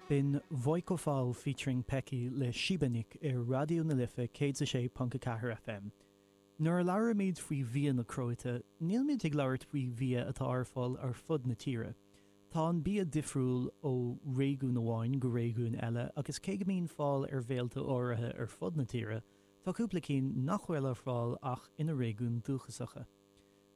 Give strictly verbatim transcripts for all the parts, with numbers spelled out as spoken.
B'in Vojko Fal featuring Peki le Šibenik ar Raidió na Life céad a sé ponc a ceathair FM. Nuair a labhraímid faoi bhia na Cróite, nílimid ag labhairt faoi bhia atá ar fáil ar fud na tíre. Tá an bia difriúil ó réigiún amháin go réigiún eile agus cé go mbíonn fáil ar bhéilte áirithe ar fud na tíre, tá cúpla cinn nach bhfuil ar fáil ach ina réigiún dúchasacha.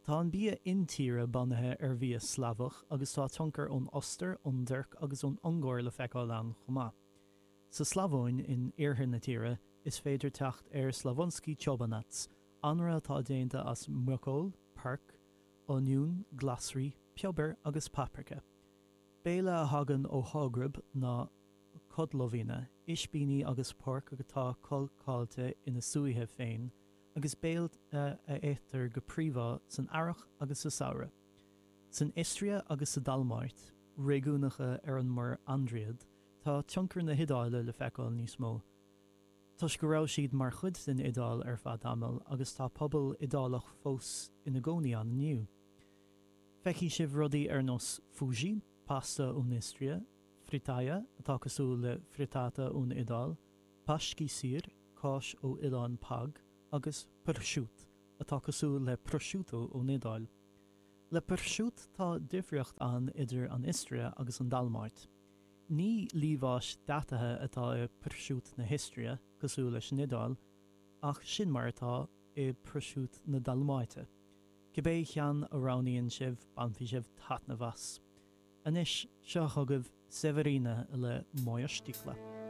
Tá an bia intíre bunaithe ar bhia Slavach agus tá tionchar ón Ostair, ón dTuirc agus ón Ungáir le feiceáil ann chomh maith. Sa Slavóin in iarthar na tíre, is féidir teacht ar Slavonski čobanac, anraith atá déanta as muiceoil, porc, oinniún, glasraí, piobar agus paprika. Béile a thagann ó Shágrab ná kotlovina, ispíní agus porc atá cócáilte ina sútha féin, agus béile a itear go príomha san earrach agus sa samhradh. San Istria agus sa Dalmáit, réigiúnacha ar an Muir Aindriad, tá tionchar na hIodáile le feiceáil níos mó. Toisc go raibh siad mar chuid den Iodáil ar feadh tamaill agus tá pobal Iodálach fós ina gcónaí ann inniu. Feicfidh sibh rudaí ar nós fuši, pasta ón Istria, fritaja atá cosúil le frittata ón Iodáil, paški sir, cáis ó oileán Pag, agus pršut, atá cosúil le prosciutto ón Iodáil. Le pršut tá difríocht ann idir an Istria agus an Dalmáit. Ní liamhás deataithe atá i pršut na hIstria, cosúil leis an Iodáil, ach sin mar atá i pršut na Dalmáite. Cibé ceann a roghnaíonn sibh, bainfidh sibh taitneamh as. Anois, seo chugaibh Severina le Moja štikla.